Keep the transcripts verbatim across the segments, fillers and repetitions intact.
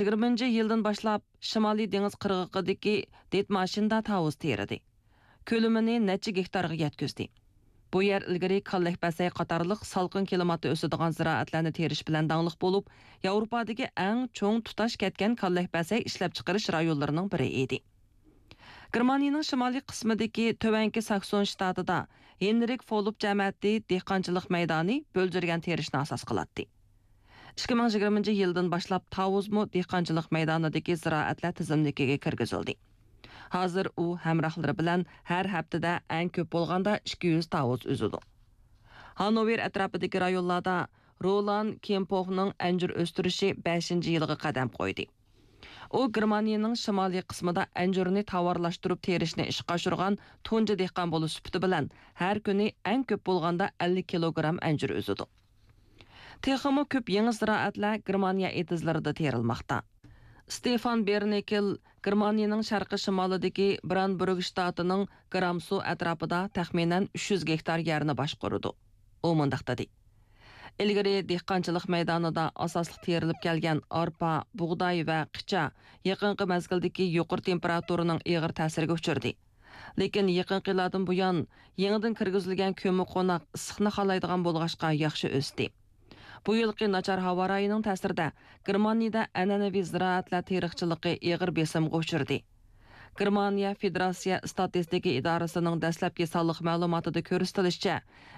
يىگىرمىنچى يىلدىن باشلاپ شىمالىي دېڭىز قىرغىقىدىكى دىتماشىندا تاۋۇز تېرىدى. كۆلىمىنى نەچچە گېكتارغا يەتكۈزدى. بۇ يەر ئىلگىرى كاللەكبەسەي قاتارلىق سالقىن كىلىماتتا ئۆسىدىغان زىرائەتلەرنى تېرىش بىلەن داڭلىق بولۇپ، ياۋروپادىكى ئەڭ چوڭ تۇتاش كەتكەن كاللەكبەسەي ئىشلەپچىقىرىش رايونلىرىنىڭ بىرى ئىدى. گېرمانىيىنىڭ شىمالىي قىسمىدىكى تۆۋەنكى ساكسون شتاتىدا ھېنرىك فولۇپ جەمەتى دېھقانچىلىق مەيدانى بۆلجۈرگەن تېرىشنى ئاساس قىلاتتى. ئىككى مىڭ يىگىرمىنچى يىلدىن باشلاپ تاۋۇزمۇ دېھقانچىلىق مەيدانىدىكى زىرائەتلەر تىزىملىكىگە كىرگۈزۈلدى. ھازىر ئۇ ھەمراھلىرى بىلەن ھەر ھەپتىدە ئەڭ كۆپ بولغاندا ئىككى يۈز تاۋۇز ئۈزىدۇ. ھانوۋېر ئەتراپىدىكى رايونلاردا رولان كېمپوفنىڭ ئەنجۈر ئۆستۈرۈشى بەشىنچى يىلىغا قەدەم قويدى. ئۇ گېرمانىيىنىڭ شىمالىي قىسمىدا ئەنجۈرنى تاۋارلاشتۇرۇپ تېرىشنى ئىشقا ئاشۇرغان تۇنجى دېھقان بولۇش سۈپىتى بىلەن ھەر كۈنى ئەڭ كۆپ بولغاندا ئەللىك كىلوگرام ئەنجۈر ئۈزىدۇ. تېخىمۇ كۆپ يېڭى زىرائەتلەر گېرمانىيە ئېتىزلىرىدا تېرىلماقتا. ستېفان بېرنېكېل گېرمانىيىنىڭ شەرقىي شىمالىدىكى برانبۇرگ شتاتىنىڭ گرامسو ئەتراپىدا تەخمىنەن ئۈچ يۈز گېكتار يەرنى باشقۇرىدۇ. ئۇ مۇنداق دېدى: ئىلگىرى دېھقانچىلىق مەيدانىدا ئاساسلىق تېرىلىپ كەلگەن ئارپا، بۇغداي ۋە قىچا يېقىنقى مەزگىلدىكى يۇقىرى تېمپېراتۇرىنىڭ ئېغىر تەسىرىگە ئۇچرىدى. لېكىن يېقىنقى يىللاردىن بۇيان، يېڭىدىن كىرگۈزۈلگەن كۆممىقوناق ئىسسىقنى خالايدىغان بولغاچقا ياخشى ئۆستى. بۇ يىلقى ناچار ھاۋا رايىنىڭ تەسىرىدە، گېرمانىيىدە ئەنئەنىۋى زىرائەتلەر تېرىقچىلىقى ئېغىر بېسىمغا ئۇچرىدى. گېرمانىيە فېدېراتسىيە ئىستاتىستىكا ئىدارىسىنىڭ دەسلەپكى سانلىق مەلۇماتىدا كۆرسىتىلىشىچە،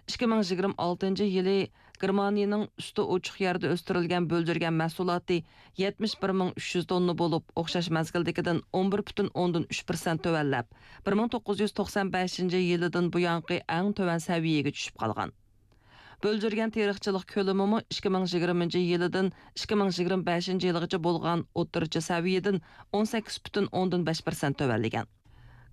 ئىككى مىڭ يىگىرمە ئالتىنچى يىلى گېرمانىيىنىڭ ئۈستى ئوچۇق يەردە ئۆستۈرۈلگەن بۆلجۈرگەن مەھسۇلاتى يەتمىش بىر مىڭ ئۈچ يۈز توننا بولۇپ، ئوخشاش مەزگىلدىكىدىن ئون بىر پۈتۈن ئوندىن ئۈچ پىرسەنت تۆۋەنلەپ، بىر مىڭ توققۇز يۈز توقسان بەشىنچى يىلىدىن بۇيانقى ئەڭ تۆۋەن سەۋىيەگە چۈشۈپ قالغان. بۆلجۈرگەن تېرىقچىلىق كۆلىمىمۇ ئىككى مىڭ يىگىرمىنچى يىلىدىن ئىككى مىڭ يىگىرمە بەشىنچى يىلغىچە بولغان ئوتتۇرىچە سەۋىيەدىن ئون سەككىز پۈتۈن ئوندىن بەش پىرسەنت تۆۋەنلىگەن.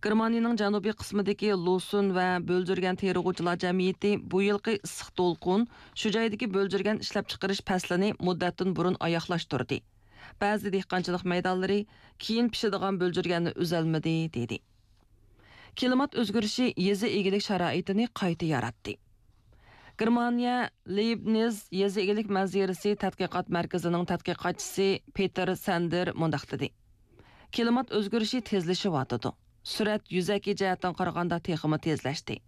گېرمانىيىنىڭ جەنۇبىي قىسمىدىكى لۇسۈن ۋە بۆلجۈرگەن تېرىغۇچىلار جەمئىيىتى بۇ يىلقى ئىسسىق دولقۇن شۇ جايدىكى بۆلجۈرگەن ئىشلەپچىقىرىش پەسلىنى مۇددەتتىن بۇرۇن ئاياغلاشتۇردى. بەزى دېھقانچىلىق مەيدانلىرى كېيىن پىشىدىغان بۆلجۈرگەننى ئۈزەلمىدى، دېدى. كىلىمات ئۆزگىرىشى يېزا ئىگىلىك شارائىتىنى قايتا ياراتتى. گېرمانىيە لېيبنىز يېزا ئىگىلىك مەنزىرىسى تەتقىقات مەركىزىنىڭ تەتقىقاتچىسى پېتېر سەندېر مۇنداق دېدى: كىلىمات ئۆزگىرىشى تېزلىشىۋاتىدۇ. سۈرئەت يۈزەكى جەھەتتىن قارىغاندا تېخىمۇ تېزلەشتى.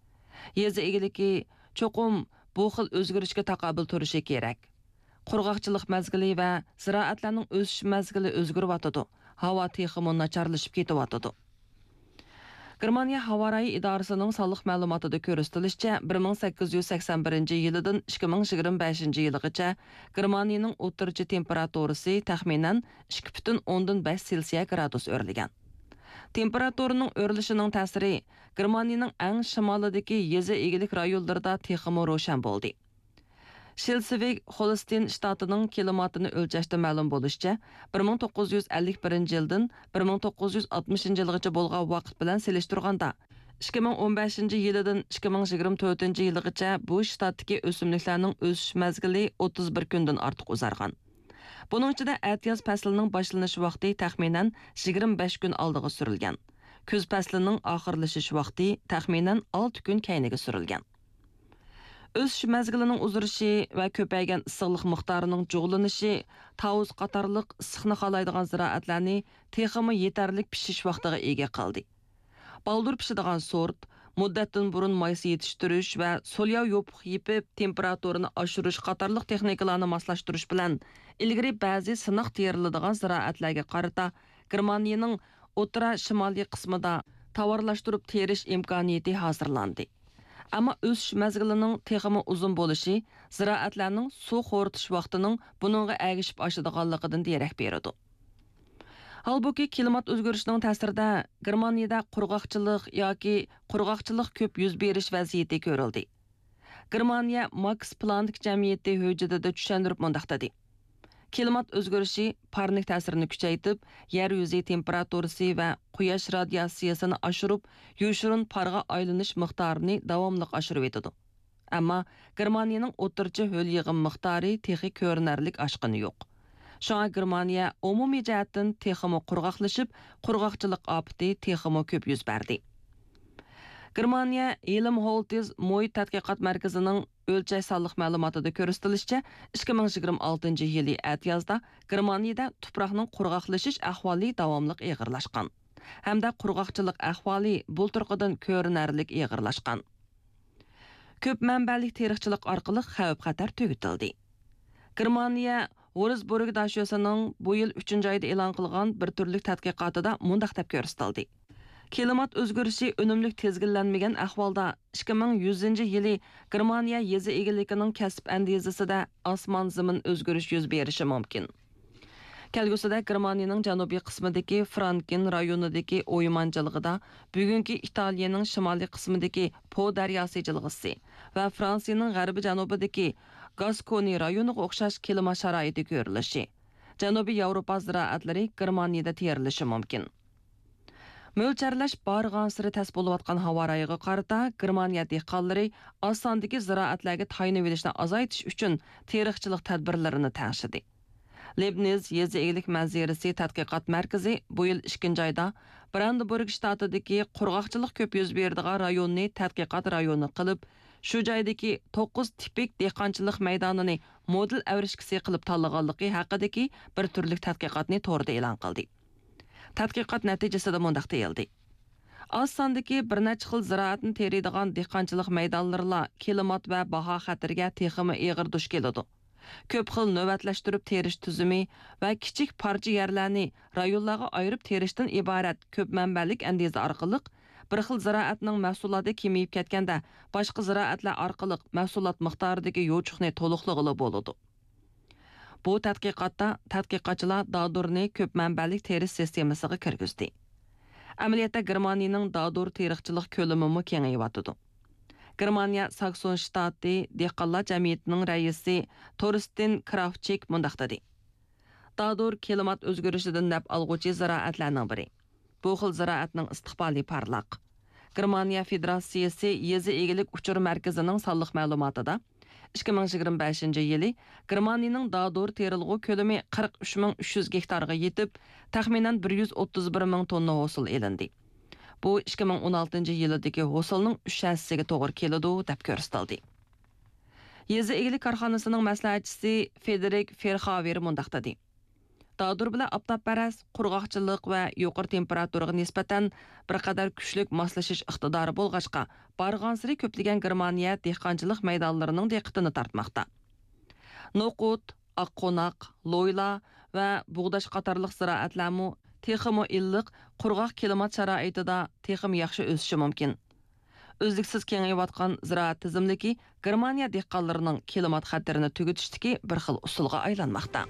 يېزا ئىگىلىكى چوقۇم بۇ خىل ئۆزگىرىشكە تاقابىل تۇرۇشى كېرەك. قۇرغاقچىلىق مەزگىلى ۋە زىرائەتلەرنىڭ ئۆسۈش مەزگىلى ئۆزگىرىۋاتىدۇ، ھاۋا تېخىمۇ ناچارلىشىپ كېتىۋاتىدۇ. گېرمانىيە ھاۋا رايى ئىدارىسىنىڭ سانلىق مەلۇماتىدا كۆرسىتىلىشىچە، بىر مىڭ سەككىز يۈز سەكسەن بىرىنچى يىلىدىن ئىككى مىڭ يىگىرمە بەشىنچى يىلىغىچە گېرمانىيىنىڭ ئوتتۇرىچە تېمپېراتۇرىسى تەخمىنەن ئىككى پۈتۈن ئوندىن بەش سېلسىيە گرادۇس ئۆرلىگەن. تېمپېراتۇرىنىڭ ئۆرلىشىنىڭ تەسىرى گېرمانىيىنىڭ ئەڭ شىمالىدىكى يېزا ئىگىلىك رايونلىرىدا تېخىمۇ روشەن بولدى. شلېسۋىگ-ھولستېين شتاتىنىڭ كىلىماتىنى ئۆلچەشتە مەلۇم بولۇشىچە، بىر مىڭ توققۇز يۈز ئەللىك بىرىنچى يىلدىن بىر مىڭ توققۇز يۈز ئاتمىشىنچى يىلغىچە بولغان ۋاقىت بىلەن سېلىشتۇرغاندا، ئىككى مىڭ ئون بەشىنچى يىلىدىن ئىككى مىڭ يىگىرمە تۆتىنچى يىلىغىچە بۇ شتاتتىكى ئۆسۈملۈكلەرنىڭ ئۆسۈش مەزگىلى ئوتتۇز بىر كۈندىن ئارتۇق ئۇزارغان. بۇنىڭ ئىچىدە ئەتىياز پەسلىنىڭ باشلىنىش ۋاقتى تەخمىنەن يىگىرمە بەش كۈن ئالدىغا سۈرۈلگەن. كۈز پەسلىنىڭ ئاخىرلىشىش ۋاقتى تەخمىنەن ئالتە كۈن كەينىگە سۈرۈلگەن. ئۆسۈش مەزگىلىنىڭ ئۇزىرىشى ۋە كۆپەيگەن ئىسسىقلىق مىقدارىنىڭ جۇغلىنىشى تاۋۇز قاتارلىق ئىسسىقنى خالايدىغان زىرائەتلەرنى تېخىمۇ يېتەرلىك پىشىش ۋاقتىغا ئىگە قىلدى. بالدۇر پىشىدىغان سورت، مۇددەتتىن بۇرۇن مايسا يېتىشتۈرۈش ۋە سولياۋ يوپۇق يېپىپ، تېمپېراتۇرىنى ئاشۇرۇش قاتارلىق تېخنىكىلارنى ماسلاشتۇرۇش بىلەن، ئىلگىرى بەزى سىناق تېرىلىدىغان زىرائەتلەرگە قارىتا گېرمانىيىنىڭ ئوتتۇرا شىمالىي قىسمىدا تاۋارلاشتۇرۇپ تېرىش ئىمكانىيىتى ھازىرلاندى. ئەمما ئۆسۈش مەزگىلىنىڭ تېخىمۇ ئۇزۇن بولۇشى زىرائەتلەرنىڭ سۇ خورىتىش ۋاقتىنىڭ بۇنىڭغا ئەگىشىپ ئاشىدىغانلىقىدىن دېرەك بېرىدۇ. ھالبۇكى، كىلىمات ئۆزگىرىشىنىڭ تەسىرىدە گېرمانىيىدە قۇرغاقچىلىق ياكى قۇرغاقچىلىق كۆپ يۈز بېرىش ۋەزىيىتى كۆرۈلدى. گېرمانىيە ماكس پلانك جەمئىيىتى ھۆججىتىدە چۈشەندۈرۈپ مۇنداق دېدى: كىلىمات ئۆزگىرىشى پارنىك تەسىرىنى كۈچەيتىپ، يەر يۈزى تېمپېراتۇرىسى ۋە قۇياش رادىياتسىيەسىنى ئاشۇرۇپ، يوشۇرۇن پارغا ئايلىنىش مىقدارىنى داۋاملىق ئاشۇرۇۋېتىدۇ. ئەمما گېرمانىيىنىڭ ئوتتۇرىچە ھۆل يېغىم مىقدارى تېخى كۆرۈنەرلىك ئاشقىنى يوق. شۇڭا گېرمانىيە ئومۇمىي جەھەتتىن تېخىمۇ قۇرغاقلىشىپ، قۇرغاقچىلىق ئاپىتى تېخىمۇ كۆپ يۈز بەردى. گېرمانىيە ھېلمھولتىز موي تەتقىقات مەركىزىنىڭ ئۆلچەش سانلىق مەلۇماتىدا كۆرسىتىلىشىچە، ئىككى مىڭ يىگىرمە ئالتىنچى يىلى ئەتىيازدا گېرمانىيەدە تۇپراقنىڭ قۇرغاقلىشىش ئەھۋالى داۋاملىق ئېغىرلاشقان ھەمدە قۇرغاقچىلىق ئەھۋالى بۇلتۇرقىدىن كۆرۈنەرلىك ئېغىرلاشقان. كۆپ مەنبەلىك تېرىقچىلىق ئارقىلىق خەۋپ-خەتەر تۈگىتىلدى. گېرمانىيە ۋۇرزبۇرگ داشۆسىنىڭ بۇ يىل ئۈچىنچى ئايدا ئېلان قىلغان بىر تۈرلۈك تەتقىقاتىدا مۇنداق دەپ كۆرسىتىلدى: كىلىمات ئۆزگىرىشى ئۈنۈملۈك تىزگىنلەنمىگەن ئەھۋالدا، ئىككى مىڭ يۈزىنچى يىلى گېرمانىيە يېزا ئىگىلىكىنىڭ كەسىپ ئەندىزىسىدە ئاسمان-زېمىن ئۆزگىرىش يۈز بېرىشى مۇمكىن. كەلگۈسىدە گېرمانىيىنىڭ جەنۇبىي قىسمىدىكى فرانكېن رايونىدىكى ئويمان جىلغىدا، بۈگۈنكى ئىتالىيەنىڭ شىمالىي قىسمىدىكى پو دەرياسى جىلغىسى ۋە فرانسىيىنىڭ غەربىي جەنۇبىدىكى گاسكونى رايونىغا ئوخشاش كىلىما شارائىتى كۆرۈلۈشى، جەنۇبىي ياۋروپا زىرائەتلىرى گېرمانىيەدە تېرىلىشى مۇمكىن. مۆلچەرلەش بارغانسېرى تەس بولۇۋاتقان ھاۋا رايىغا قارىتا، گېرمانىيە دېھقانلىرى ئاز ساندىكى زىرائەتلەرگە تايىنىۋېلىشنى ئازايتىش ئۈچۈن تېرىقچىلىق تەدبىرلىرىنى تەڭشىدى. لېبنىز يېزا ئىگىلىك مەنزىرىسى تەتقىقات مەركىزى بۇ يىل ئىككىنچى ئايدا برانېنبۇرگ شتاتىدىكى قۇرغاقچىلىق كۆپ يۈز بېرىدىغان رايوننى تەتقىقات رايونى قىلىپ، شۇ جايدىكى توققۇز تىپىك دېھقانچىلىق مەيدانىنى مودېل ئەۋرىشكىسى قىلىپ تاللىغانلىقى ھەققىدىكى بىر تۈرلۈك تەتقىقاتنى توردا ئېلان قىلدى. تەتقىقات نەتىجىسىدە مۇنداق دېيىلدى: ئاز ساندىكى بىر نەچچە خىل زىرائەتنى تېرىيدىغان دېھقانچىلىق مەيدانلىرىلا كىلىمات ۋە باھا خەتىرىگە تېخىمۇ ئېغىر دۇچ كېلىدۇ. كۆپ خىل نۆۋەتلەشتۈرۈپ تېرىش تۈزۈمى ۋە كىچىك پارچە يەرلەرنى رايونلارغا ئايرىپ تېرىشتىن ئىبارەت كۆپ مەنبەلىك ئەندىزە ئارقىلىق، بىر خىل زىرائەتنىڭ مەھسۇلاتى كېمىيىپ كەتكەندە، باشقا زىرائەتلەر ئارقىلىق مەھسۇلات مىقدارىدىكى يوچۇقنى تولۇقلىغىلى بولىدۇ. بۇ تەتقىقاتتا تەتقىقاتچىلار دادۇرنى كۆپ مەنبەلىك تېرىش سىستېمىسىغا كىرگۈزدى. ئەمەلىيەتتە، گېرمانىيىنىڭ دادۇر تېرىقچىلىق كۆلىمىمۇ كېڭىيىۋاتىدۇ. گېرمانىيە ساكسون شتاتى دېھقانلار جەمئىيىتىنىڭ رەئىسى تورستېن كرافتچىك مۇنداق دېدى: دادۇر كىلىمات ئۆزگىرىشىدىن نەپ ئالغۇچى زىرائەتلەرنىڭ بىرى. بۇ خىل زىرائەتنىڭ ئىستىقبالى پارلاق. گېرمانىيە فېدېراتسىيىسى يېزا ئىگىلىك ئۇچۇر مەركىزىنىڭ سانلىق مەلۇماتىدا، ئىككى مىڭ يىگىرمە بەشىنچى يىلى گېرمانىيىنىڭ دادۇر تېرىلغۇ كۆلىمى قىرىق ئۈچ مىڭ ئۈچ يۈز گېكتارغا يېتىپ، تەخمىنەن بىر يۈز ئوتتۇز بىر مىڭ توننا ھوسۇل ئېلىندى. بۇ ئىككى مىڭ ئون ئالتىنچى يىلىدىكى ھوسۇلنىڭ ئۈچ ھەسسىسىگە توغرا كېلىدۇ، دەپ كۆرسىتىلدى. يېزا ئىگىلىك كارخانىسىنىڭ مەسلىھەتچىسى فېدېرىك فېرخاۋېر مۇنداق دېدى: دادۇر بىلەن ئاپتاپپەرەس، قۇرغاقچىلىق ۋە يۇقىرى تېمپېراتۇراغا نىسبەتەن بىر قەدەر كۈچلۈك ماسلىشىش ئىقتىدارى بولغاچقا، بارغانسېرى كۆپلىگەن گېرمانىيە دېھقانچىلىق مەيدانلىرىنىڭ دىققىتىنى تارتماقتا. نوقۇت، ئاققوناق، لويلا ۋە بۇغداش قاتارلىق زىرائەتلەرمۇ تېخىمۇ ئىللىق، قۇرغاق كىلىمات شارائىتىدا تېخىمۇ ياخشى ئۆسۈشى مۇمكىن. ئۈزلۈكسىز كېڭىيىۋاتقان زىرائەت تىزىملىكى گېرمانىيە دېھقانلىرىنىڭ كىلىمات خەتىرىنى تۈگىتىشتىكى بىر خىل ئۇسۇلغا ئايلانماقتا.